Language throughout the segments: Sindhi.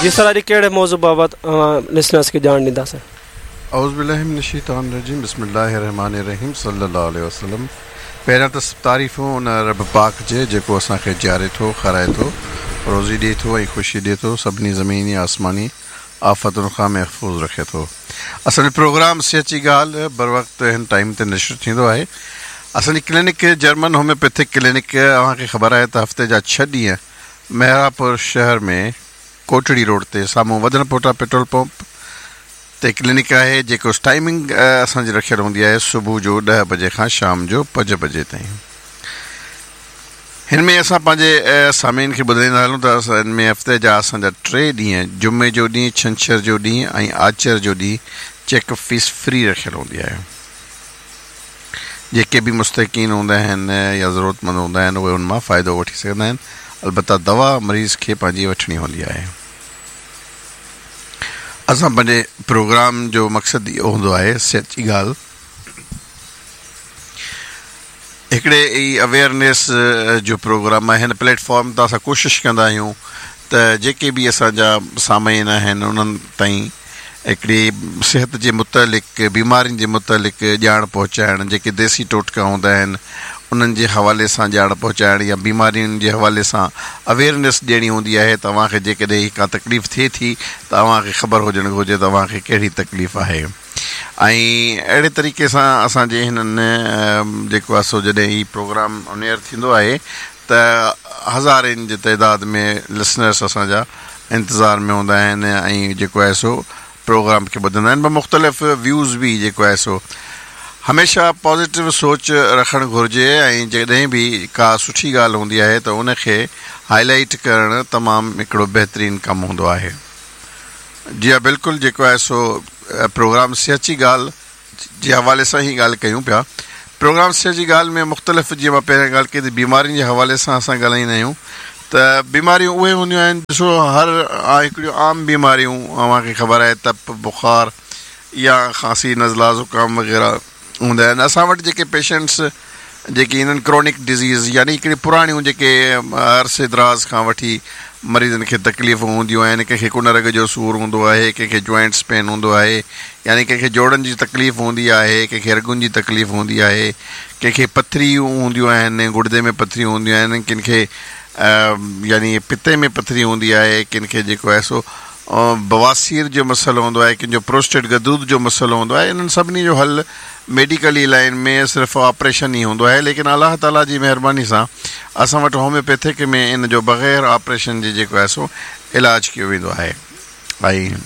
جي سر اڄ ڪهڙي موضوع بابت اوهان لسنرس کي ڄاڻ ڏيندا سر. اعوذ بالله من الشيطان الرجيم بسم الله الرحمٰن الرحيم صلي الله عليه وسلم پهريان ته سڀ تعريفون ان رب پاڪ جي جيڪو اسان کي جياري ٿو کارائي ٿو روزي ڏئي ٿو ۽ خوشي ڏئي ٿو سڀني زميني آسماني آفتن کان محفوظ رکي ٿو اسان جو پروگرام صحت جي ڳالهه بروقت هن ٽائيم تي نشر ٿيندو آهي اسان جي ڪلينڪ جرمن هوميوپيٿڪ ڪلينڪ اوهان کي خبر آهي ته هفتي جا ڇهه ڏينهن محرابپور شهر ۾ ڪوٽڙي روڊ تي سامهون وڌڻ پوٽا پيٽرول پمپ تي ڪلينڪ آهي جيڪو ٽائيمنگ اسان جي رکيل هوندي آهي صبح جو ڏهه بجي کان شام جو پنج بجي تائين هن ۾ اسان پنهنجي سامعين کي ٻڌائيندا هلون ته اسان هن ۾ هفتي جا اسان جا ٽي ڏينهن جمعي جو ڏينهن ڇنڇر جو ڏينهن ۽ آچر جو ڏينهن چيڪ اپ فيس فري رکيل هوندي آهي جيڪي به مستحقين هوندا آهن يا ضرورتمند هوندا آهن اهي ان مان فائدو وٺي سگهندا آهن البته دوا مريض کي پنهنجي وٺڻي هوندي آهي. اسان پنهنجي پروگرام جو مقصد اهو هوندو آهي صحت جي ڳالهه هڪڙي ئي اويئرنيس جو پروگرام آهي هن پليٽ فارم تان اسان ڪوشش ڪندا آهيون ته جيڪي به اسان جا سامعين آهن انهن تائين هڪڙي صحت جي متعلق بيمارين جي متعلق ڄاڻ پهچائڻ جيڪي ديسي ٽوٽڪا هوندا آهن انهن جي حوالي سان ڄاڻ پهچائڻ يا بيمارين جي حوالي سان اويئرنيس ڏيڻي هوندي آهي ته اوهان کي جيڪڏهن ڪا تڪليف ٿئي ٿي ته اوهان کي خبر هجڻ گهرجي ته اوهان کي ڪهڙي تڪليف آهي ۽ اهڙي طريقي سان اسان جي هنن جيڪو آهي سو جڏهن هي پروگرام آن ايئر ٿيندو آهي ته هزارين جي تعداد ۾ لسنرس اسان جا انتظار ۾ هوندا آهن ۽ جيڪو آهي سو پروگرام کي ٻڌندا آهن مختلف ويوز به جيڪو آهي سو هميشه پازيٽو سوچ رکڻ گهرجي ۽ جڏهن به ڪا سٺي ڳالهه هوندي آهي ته ان کي هائي لائيٽ ڪرڻ تمام هڪڙو بهترين ڪم هوندو آهي جي ها بلڪل جيڪو آهي سو پروگرام صحت جي ڳالهه جي حوالي سان هي ڳالهه ڪيون پيا. پروگرام صحت جي ڳالهه ۾ مختلف جيئن مان پهريان ڳالهه ڪئي ته بيمارين جي حوالي سان اسان ڳالهائيندا آهيون ته بيماريون اهي هونديون آهن ڏسو هر هڪڙيون عام بيماريون اوهان کي خبر آهي تپ بخار يا کانسي نزلا زڪام وغيره هوندا آهن اسان وٽ جيڪي پيشنٽس جيڪي ايندا آهن ڪرونڪ ڊزيز يعني هڪڙي پراڻيون جيڪي عرصي دراز کان وٺي مريضن کي تڪليفون هونديون آهن ڪنهن کي ڪن رڳ جو سور هوندو آهي ڪنهن کي جوائنٽس پين هوندو آهي يعني ڪنهن کي جوڙن جي تڪليف هوندي آهي ڪنهن کي رڳن جي تڪليف هوندي آهي ڪنهن کي پٿريون هونديون آهن گڙدي ۾ پٿريون هونديون آهن ڪن کي يعني پتي ۾ پٿري هوندي آهي ڪن کي جيڪو آهي سو بواسير جو مسئلو هوندو آهي ڪن جو پروسٽيٽ غدود جو مسئلو هوندو آهي انهن سڀني جو حل ميڊيڪلي لائن ۾ صرف آپريشن ئي هوندو آهي ليڪن الله تعالي جي مهرباني سان اسان وٽ هوميوپيٿڪ ۾ ان جو بغير آپريشن جي جيڪو آهي سو علاج ڪيو ويندو آهي ۽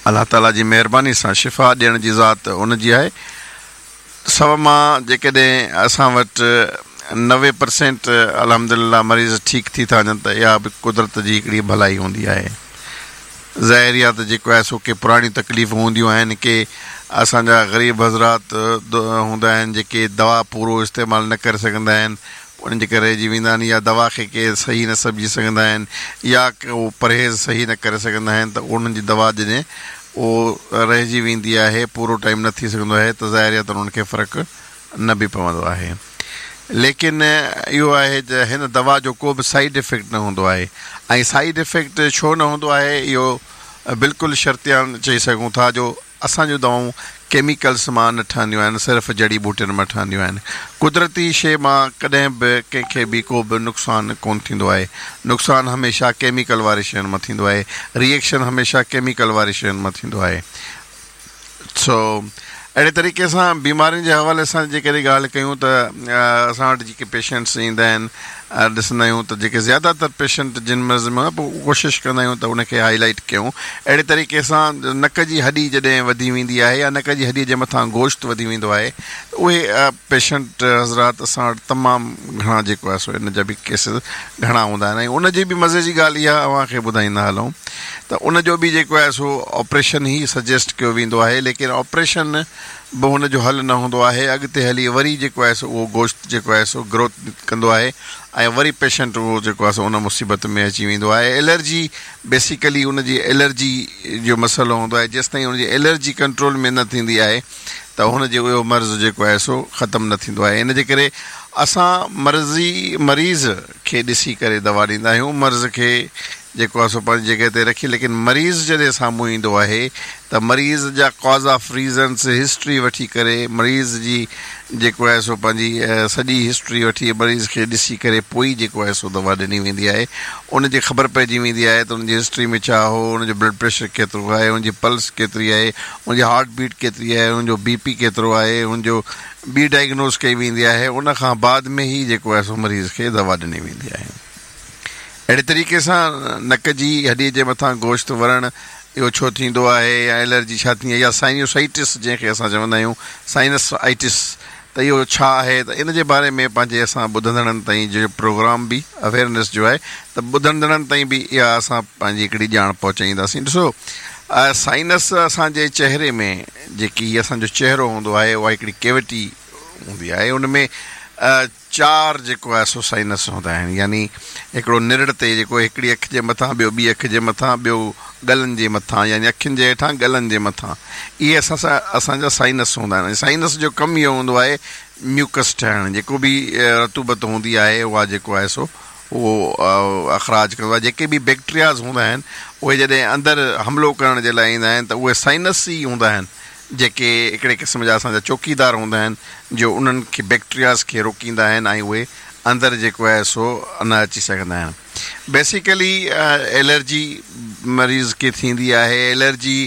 الله تعالي جي مهرباني سان شفا ڏيڻ جي ذات ان جي آهي سو مان جيڪڏهن اسان وٽ 90% الحمدلله مريض ٺيڪ ٿي ٿا وڃن ته اها به قدرت جي هڪڙي ڀلائي هوندي آهي. ظاهر آهي ته جيڪو آهي سو ڪي پراڻيون تڪليفون هونديون آهن ڪي اسان جا غريب حضرات هوندا آهن جيڪي دوا پورو استعمال نه ڪري سگهندا آهن انهن جي ڪري رهجي ويندا آهن يا دوا کي ڪي صحيح نه سمجهي سگهندا آهن يا ڪو پرهيز صحيح نه ڪري سگهندا آهن ته انهن جي دوا جڏهن اهو رهجي ويندي آهي پورو ٽائيم نه ٿي سگهندو آهي ته ظاهر آهي ته انهن کي فرق نه به پوندو آهي ليڪن اهو آهي ته هن دوا جو ڪو به سائيڊ افيڪٽ نه هوندو آهي ۽ سائيڊ افيڪٽ ڇو نه هوندو آهي اهو بلڪل شرطيان چئي سگهون ٿا جو اسان جون دوائون ڪيميڪلس مان نه ٺهنديون آهن صرف جڙي ٻوٽين مان ٺهنديون آهن قدرتي شيء مان ڪڏهن به ڪنهن کي به ڪو به نقصان ڪونه ٿيندو آهي نقصان هميشه ڪيميڪل واري شين مان ٿيندو آهي ريئيڪشن هميشه ڪيميڪل واري شين مان ٿيندو آهي سو اهڙي طريقي سان بيمارين جي حوالي سان جيڪڏهن ڳالهه ڪيون ته اسان وٽ جيڪي پيشنٽس ايندا آهن ڏسندا آهيون ته جيڪي زياده تر پيشنٽ جن مرض ۾ پوء ڪوشش ڪندا آهيون ته ان کي هائي لائيٽ ڪيون اهڙي طريقي سان نڪ جي هڏي جڏهن وڌي ويندي آهي يا نڪ جي هڏي جي مٿان گوشت وڌي ويندو آهي ته اهي پيشنٽ حضرات اسان وٽ تمام گهڻا جيڪو آهي سو ان جا به ڪيسز گهڻا هوندا آهن ۽ ان جي به مزي جي ڳالهه اها اوهان کي ٻڌائيندا هلون ته ان جو به جيڪو آهي سو آپريشن ئي سجيسٽ ڪيو ويندو آهي ليڪن آپريشن به هن جو حل نه هوندو آهي اڳتي هلي وري جيڪو آهي سو اهو گوشت جيڪو آهي سو گروٿ ڪندو آهي ۽ وري پيشنٽ اهو جيڪو آهي سو ان مصيبت ۾ اچي ويندو آهي الرجي بيسيڪلي ان جي الرجي جو مسئلو هوندو آهي جيستائين ان جي الرجي ڪنٽرول ۾ نه ٿيندي آهي ته هن جو اهو مرض جيڪو آهي سو ختم نه ٿيندو آهي ان جي ڪري اسان مرضي مريض کي ڏسي ڪري دوا ڏيندا آهيون مرض کي جيڪو آهي سو پنهنجي جڳهه تي رکي ليڪن مريض جڏهن سامهون ايندو آهي ته مريض جا ڪاز آف ريزنس هسٽري وٺي ڪري مريض جي جيڪو آهي سو پنهنجي سڄي هسٽري وٺي مريض کي ڏسي ڪري پوء ئي جيڪو آهي سو دوا ڏني ويندي آهي ان جي خبر پئجي ويندي آهي ته ان جي هسٽري ۾ ڇا هو ان جو بلڊ پريشر ڪيترو آهي ان جي پلس ڪيتري آهي ان جي هارٽ بيٽ ڪيتري آهي ان جو بي پي ڪيترو آهي ان جو ٻي ڊائگنوز ڪئي ويندي آهي ان کان بعد ۾ ئي جيڪو آهي سو مريض کي دوا ڏني ويندي آهي. اهڙي طريقي سان نڪ جي هڏي جي مٿان گوشت ورڻ اهو ڇو ٿيندو آهي يا الرجي ڇا ٿيندي آهي يا سائنيوسائٽس جنهن کي اسان چوندا آهيون سائنس آئٽس ته اهو ڇا آهي ته ان جي باري ۾ پنهنجي اسان ٻڌندڙن تائين جو پروگرام به اويئرنيس جو آهي ته ٻڌندڙن تائين به اها اسان پنهنجي هڪڙي ڄاڻ پهچائينداسين ڏسو سائنس اسان جي چهري ۾ جيڪي هي اسان جو چهرو هوندو آهي اها هڪڙي ڪيوٽي هوندي آهي ان ۾ چار جيڪو آهي سو سائنس هوندا آهن يعني هڪڙو نرڙ تي جيڪو هڪڙي اک جي مٿان ٻيو ٻي اک جي مٿان ٻيو ڳلن جي مٿان يعني اکين جي هيٺان ڳلن جي مٿان اهي اسان سان اسان جا سائنس هوندا آهن ۽ سائنس جو ڪم اهو هوندو آهي ميوڪس ٺاهڻ جيڪو به رطوبت هوندي آهي اها جيڪو آهي سو اهو اخراج ڪندو آهي جيڪي به بيڪٽرياز هوندا آهن اهي جڏهن اندر حملو ڪرڻ جي لاء ايندا آهن ته اهي سائنس ئي هوندا آهن جيڪي هڪڙي قسم جا اسان جا چوڪيدار هوندا آهن جو انهن کي بيڪٽرياز کي روڪيندا آهن ۽ اهي اندر جيڪو آهي سو نه اچي سگهندا آهن. بيسيڪلي الرجي مريض کي ٿيندي آهي الرجي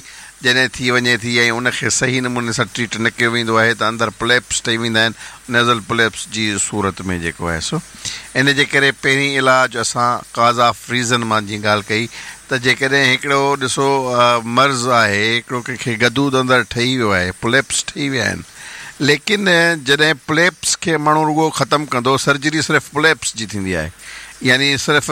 جڏهن ٿي وڃي ٿي ۽ ان کي صحيح نموني سان ٽريٽ نه ڪيو ويندو آهي ته اندر پوليپس ٺهي ويندا آهن نيزل پوليپس جي صورت ۾ جيڪو آهي سو ان جي ڪري پهرين علاج اسان ڪاز آف ريزن مان جيئن ڳالهه ڪئي ته جيڪڏهن هڪڙو ڏسو مرض آهي هڪڙو ڪنهن کي غدود اندر ٺهي ويو آهي پوليپس ٺهي ويا آهن ليڪن جڏهن پوليپس کي ماڻهو رڳو ختم ڪندو سرجري صرف پوليپس جي ٿيندي آهي يعني صرف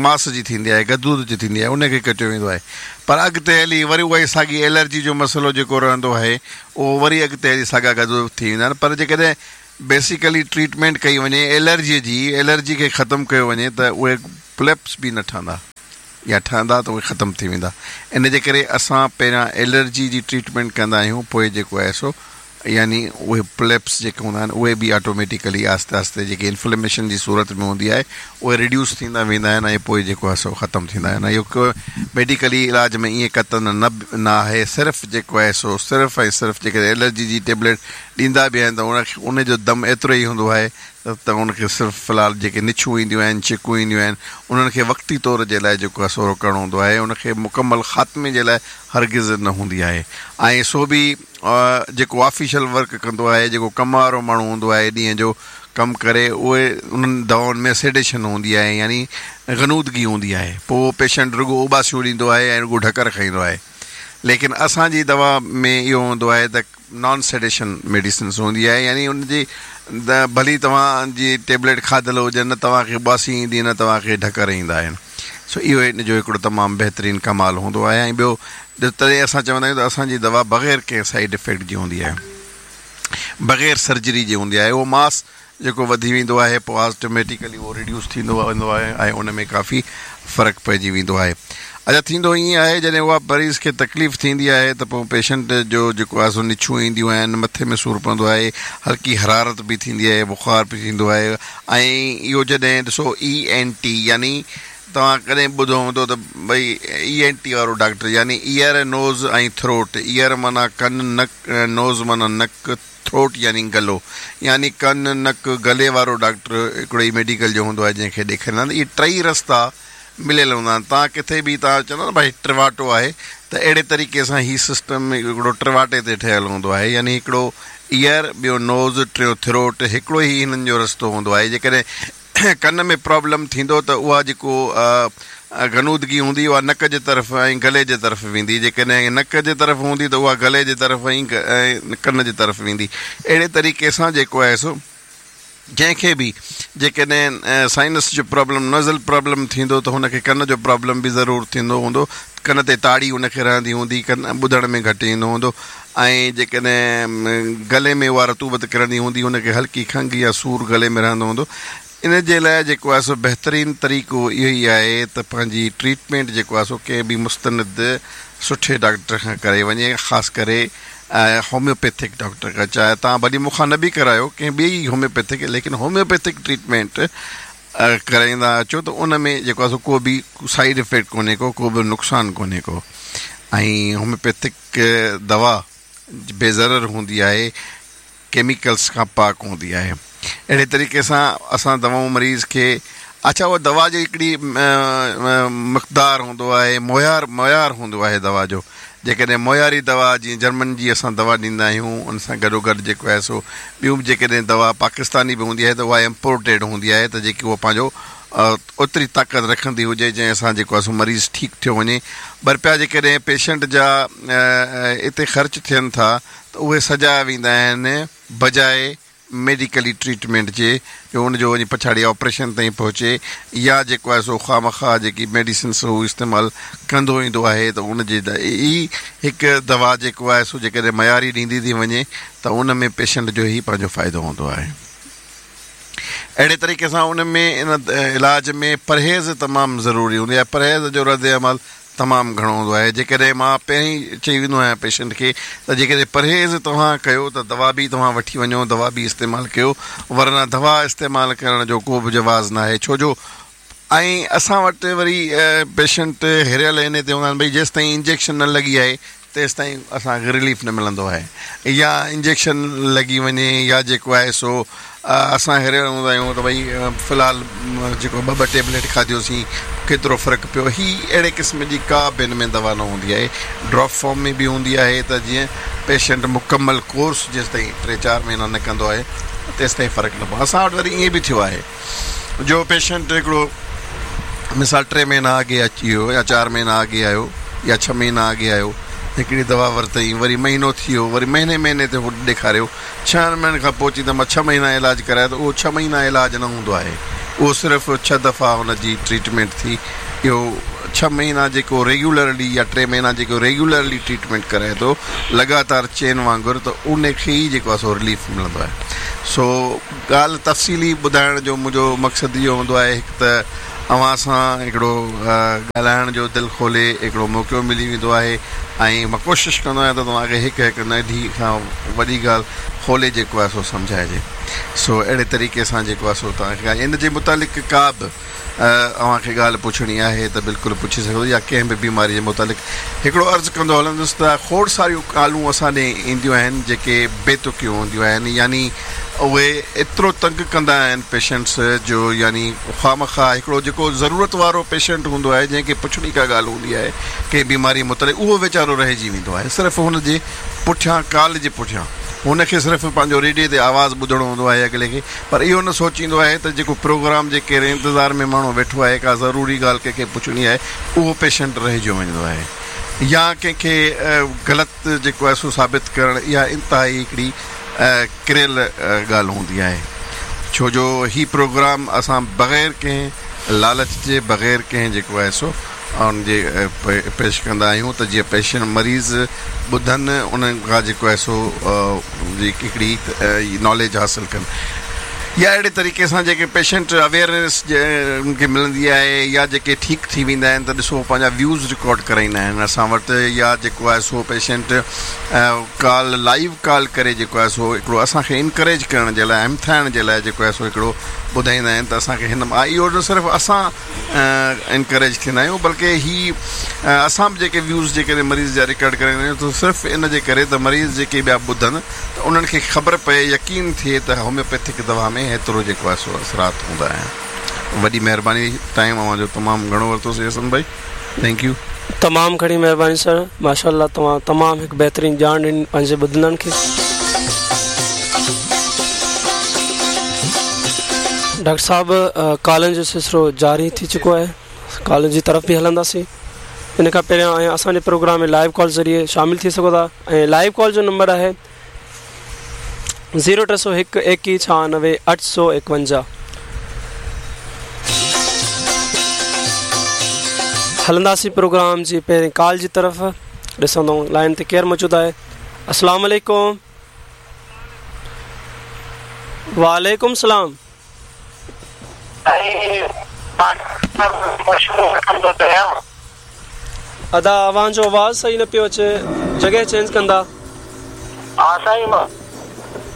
ماس جي ٿيندي آهي غدود جي ٿيندي آهي ان کي ڪٽيو ويندو آهي پر اڳتي هلي وري اها ئي ساڳي الرجي جو مسئلو جيڪو رهندو آهي اهو وري اڳتي هلي ساڳا غدود ٿي ويندا آهن پر جيڪڏهن بيسيڪلي ٽريٽمينٽ ڪئي وڃي الرجي جي الرجي کي ختم ڪيو وڃي ته اهي پوليپس به نه ٺهندا يا ٺهندا ته اهي ختم ٿي ويندا ان جي ڪري اسان پهريان الرجي جي ٽريٽمينٽ ڪندا آهيون پوء جيڪو آهي سو يعني اهي پوليپس جيڪي هوندا آهن اهي به آٽوميٽيڪلي آهستي آهستي جيڪي انفليميشن جي صورت ۾ هوندي آهي اهي ريڊيوس ٿيندا ويندا آهن ۽ پوء جيڪو آهي سو ختم ٿيندا آهن اهو ڪو ميڊيڪلي علاج ۾ ائين قطعن نه نه آهي صرف جيڪو آهي سو صرف ۽ صرف جيڪڏهن الرجي جي ٽيبليٽ ڏيندا به آهن ته ان کي ان جو دم ايترو ئي هوندو آهي ته ان کي صرف في الحال جيڪي نڇون اينديون آهن ڇڪون اينديون آهن انهن کي وقتي طور جي لاء جيڪو آهي سو روڪڻو هوندو آهي ان کي مڪمل خاتمي جي لاء هرگز نه هوندي آهي ۽ سو به جيڪو آفيشل ورڪ ڪندو آهي جيڪو ڪم وارو ماڻهو هوندو آهي ڏينهن جو ڪم ڪري اهي انهن دوائن ۾ سيڊيشن هوندي آهي يعني غنودگي هوندي آهي پوء اهو پيشنٽ رڳو اوٻاسيون ڏيندو آهي ۽ رڳو ڍڪر کائيندو آهي ليڪن اسان جي دوا ۾ اهو هوندو آهي ته نان سيڊيشن ميڊيسنس هوندي آهي يعني ان جي ڀلي توهان جي ٽيبليٽ کاڌل هجي نه توهان کي اٻاسي ايندي نه توهان کي ڍڪر ايندا آهن سو اهو ان جو هڪڙو تمام بهترين ڪمال هوندو آهي ۽ ٻيو تڏهن اسان چوندا آهيون ته اسان جي دوا بغير ڪنهن سائيڊ افيڪٽ جي هوندي آهي بغير سرجري جي هوندي آهي اهو ماس جيڪو وڌي ويندو آهي پوء آٽوميٽيڪلي اهو ريڊيوس ٿيندو ويندو آهي ۽ ان ۾ ڪافي فرق پئجي ويندو آهي. اڇا ٿيندو ائين آهي جڏهن اها مريض کي تڪليف ٿيندي آهي ته پوء پيشنٽ جو جيڪو آهي سو نڇون اينديون آهن مٿي ۾ سور پوندو آهي هلڪي حرارت به ٿيندي آهي بخار به ٿيندو آهي ۽ اهو جڏهن ڏسو اي اين ٽي يعني توهان ڪڏهن ٻڌو هوندو ته ڀئي اي اين ٽي وارو ڊاڪٽر يعني ايئر نوز ۽ ٿروٽ ايئر معنيٰ ڪن نڪ نوز معنيٰ نڪ ٿروٽ يعني گلو يعني ڪن، نڪ، گلي وارو ڊاڪٽر هڪڙو ئي ميڊيڪل جو هوندو آهي جنهن کي ڏيکاريندا آهن اهي ٽئي رستا مليل هوندا آهن توهان ڪٿي به توهان چوندا نه ڀائي ٽرواٽو آهي ته اهڙي طريقي سان هي سسٽم هڪڙو ٽرواٽي تي ٺهيل هوندو آهي يعني هڪڙو ايئر ٻيو نوز ٽيون ٿروٽ هڪڙو ئي هنن جو رستو هوندو آهي جيڪڏهن ڪن ۾ پرابلم ٿيندو ته اها جيڪو غنودگي هوندي اها نڪ جي طرف ۽ گلي جي طرف ويندي جيڪڏهن نڪ جي طرف هوندي ته اها گلي جي طرف ۽ ڪن جي طرف ويندي اهڙي طريقي سان جيڪو آهي سو جنهن کي به جيڪڏهن سائنس جو پرابلم نزل پرابلم ٿيندو ته هن کي ڪن جو پرابلم به ضرور ٿيندو هوندو ڪن تي تاڙي ان کي رهندي هوندي ڪن ٻڌڻ ۾ گهٽ ايندو هوندو ۽ جيڪڏهن گلي ۾ اها رطوبت ڪرندي هوندي هن کي هلڪي کنگهه يا سور گلي ۾ رهندو هوندو. ان جي لاء جيڪو آهي سو بهترين طريقو اهو ئي آهي ته پنهنجي ٽريٽمينٽ جيڪو آهي سو ڪنهن به مستند سٺي ڊاڪٽر کان ڪرائي وڃي خاص ڪري هوميوپيٿڪ ڊاڪٽر کان چاهي توهان ڀلي مون کان نه به ڪرايو ڪنهن ٻئي هوميوپيٿڪ ليڪن هوميوپيٿڪ ٽريٽمينٽ ڪرائيندا اچو ته ان ۾ جيڪو آهي سو ڪو به سائيڊ افيڪٽ ڪونهي ڪو ڪو به نقصان ڪونهي ڪو ۽ هوميوپيٿڪ دوا بي ضرر هوندي آهي ڪيميڪلس کان پاڪ هوندي آهي اهڙي طريقي سان اسان دوائون مريض کي اڇا اها دوا جي هڪڙي مقدار هوندو آهي معيار معيار هوندو آهي دوا جو جيڪڏهن معياري دوا جيئن جرمن جي اسان دوا ڏيندا آهيون ان سان گڏو گڏ جيڪو آهي سو ٻيون به جيڪڏهن دوا پاڪستاني به هوندي آهي ته اها امپورٽيڊ هوندي آهي ته جيڪي اها پنهنجو اوتري طاقت رکندي هجي جنهن سان جيڪو آهي سو مريض ٺيڪ ٿيو وڃي ٻه رپيا جيڪڏهن پيشنٽ جا اتي خرچ ٿين ٿا ته اهي سجايا ويندا آهن بجاء ميڊيڪلي ٽريٽمينٽ جي جو ان جو وڃي پڇاڙي آپريشن تائين پهچي يا جيڪو آهي سو خوامخواه جيڪي ميڊيسنس هو استعمال ڪندو ايندو آهي ته ان جي ئي هڪ دوا جيڪو آهي سو جيڪڏهن معياري ڏيندي ٿي وڃي ته ان ۾ پيشنٽ جو ئي پنهنجو فائدو هوندو آهي. اهڙي طريقي سان ان ۾ ان علاج ۾ پرهيز تمام ضروري هوندي آهي پرهيز جو رد عمل تمام گهڻو هوندو آهي جيڪڏهن مان پهرين چئي ويندو آهيان پيشنٽ کي ته جيڪڏهن پرهيز توهان ڪيو ته دوا به توهان وٺي وڃو دوا به استعمال ڪيو ورنه دوا استعمال ڪرڻ جو ڪو به جواز ناهي ڇو جو ۽ اسان وٽ وري پيشنٽ هريل انهي تي هوندا آهن ڀئي جيستائين انجيڪشن نه لڳي آهي تيستائين اسان کي رليف نه ملندو آهي يا انجيڪشن لڳي وڃي يا جيڪو آهي سو اسان هريل هوندا آهيون ته ڀئي في الحال جيڪو ٻه ٻه ٽيبليٽ کاڌيوسين ڪيترو فرق پيو هي اهڙي قسم جي ڪا به هن ۾ دوا نه هوندي آهي ڊراپ فارم ۾ به هوندي آهي ته جيئن پيشنٽ مڪمل ڪورس جيستائين ٽي چار مهينا نه ڪندو آهي تيستائين فرق نه پوندو اسان وٽ وري ائين به ٿيو آهي جو پيشنٽ هڪڙو مثال ٽي مهينا اڳي اچي ويو يا چار مهينا اڳي آيو يا ڇهه مهينا اڳي آيو هڪڙي دوا ورتائين وري مهينو ٿي ويو وري مهيني مهيني تي هو ڏيکاريو ڇهن مهينن کان پوء چي ته مان ڇهه مهينا علاج ڪرايا ته اهو ڇهه مهينا علاج نه هوندو آهي اهو صرف ڇهه دفعا هن جي ٽريٽمينٽ ٿي اهو ڇهه مهينا جيڪو ريگيولرلي يا ٽي مهينا جيڪو ريگيولرلي ٽريٽمينٽ ڪرائي ٿو لڳاتار چين وانگر ته ان کي ئي جيڪو آهي سو رليف ملندو آهي سو ڳالهه تفصيلي ٻڌائڻ جو منهنجو مقصد اهو هوندو آهي هڪ ته اوهان سان هڪڙو ڳالهائڻ جو دل کولي هڪڙو موقعو ملي ويندو آهي ۽ مان ڪوشش ڪندو آهيان ته توهان کي هڪ هڪ ننڍي کان وڏي ڳالهه کولي جيڪو آهي سو سمجهائجي سو اهڙي طريقي سان جيڪو آهي سو توهان کي ان جي متعلق ڪا به اوهان کي ڳالهه پڇڻي آهي ته بلڪل پڇي سگهو يا ڪنهن به بيماري جي متعلق هڪڙو عرض ڪندو هلندس ته کوڙ ساريون ڪالون اسان ڏي اينديون آهن جيڪي بي تڪيون هونديون آهن يعني اهي ايترو تنگ ڪندا آهن پيشنٽس جو يعني خوامخواه هڪڙو جيڪو ضرورت وارو پيشنٽ هوندو آهي جنهن کي پڇڻي ڪا ڳالهه هوندي آهي ڪنهن بيماري متعلق اهو ويچارو رهجي ويندو آهي صرف هن جي پٺيان ڪال جي پٺيان هن کي صرف پنهنجو ريڊيي تي آواز ٻڌڻو هوندو آهي اڳلي کي پر اهو نه سوچيندو آهي ته جيڪو پروگرام جي ڪهڙي انتظار ۾ ماڻهو ويٺو آهي ڪا ضروري ڳالهه ڪنهن کي پڇڻي آهي اهو پيشنٽ رهجيو ويندو آهي يا ڪنهن کي غلط جيڪو آهي سو ثابت ڪرڻ اها انتهائي هڪڙي ڪريل ڳالهه هوندي آهي ڇو جو هي پروگرام اسان بغير ڪنهن لالچ جي بغير ڪنهن جيڪو آهي سو ان جي پيش ڪندا آهيون ته جيئن پيشنٽ مريض ٻڌن انهن کان جيڪو آهي سو هڪڙي ناليج حاصل ڪن يا اهڙي طريقي سان جيڪي پيشنٽ اويئرنيس ان کي ملندي آهي يا جيڪي ٺيڪ ٿي ويندا آهن ته ڏسو پنهنجا ويوز رڪارڊ ڪرائيندا آهن اسان وٽ يا جيڪو آهي سو پيشنٽ ڪال لائيو ڪال ڪري جيڪو آهي سو هڪڙو اسان کي انڪريج ڪرڻ جي لاء همٿائڻ جي لاء جيڪو آهي سو هڪڙو ٻڌائيندا آهن ته اسان کي هن اهو نه صرف اسان انڪريج ٿيندا آهيون بلڪه هي اسان به جيڪي ويوز جيڪڏهن مريض جا رڪارڊ ڪرائيندا آهيون ته صرف ان جي ڪري ته مريض جيڪي ٻيا ٻڌن ته انهن کي خبر پئي يقين ٿئي ته هوميوپيٿڪ دوا ۾ هيترو جيڪو آهي سو اثرات هوندا آهن وڏي مهرباني ٽائيم اوهان جو تمام گهڻو ورتوسي حسن ڀائي thank you. تمام گهڻي مهرباني سر ماشاءالله توهان تمام هڪ بهترين ڄاڻ ڏني پنهنجي ٻڌندڙن کي. ڊاڪٽر صاحب ڪالن جو سلسلو جاري ٿي چڪو آهي ڪالن جي طرف به هلنداسين ان کان پهريان ۽ اسان جي پروگرام ۾ لائيو ڪال ذريعي شامل ٿي سگهو ٿا ۽ لائيو ڪال جو نمبر آهي زيرو ٽي سو هڪ ايڪيهه ڇهانوي اٺ سو ايڪونجاهه هلنداسين پروگرام جي پهرين ڪال جي طرف ڏسندو لائن تي ڪير موجود آهي السلام عليڪم وعليڪم السلام ادا اوهان جو آواز صحيح نه پيو اچي جڳهه چينج ڪندا. ها سائين مان.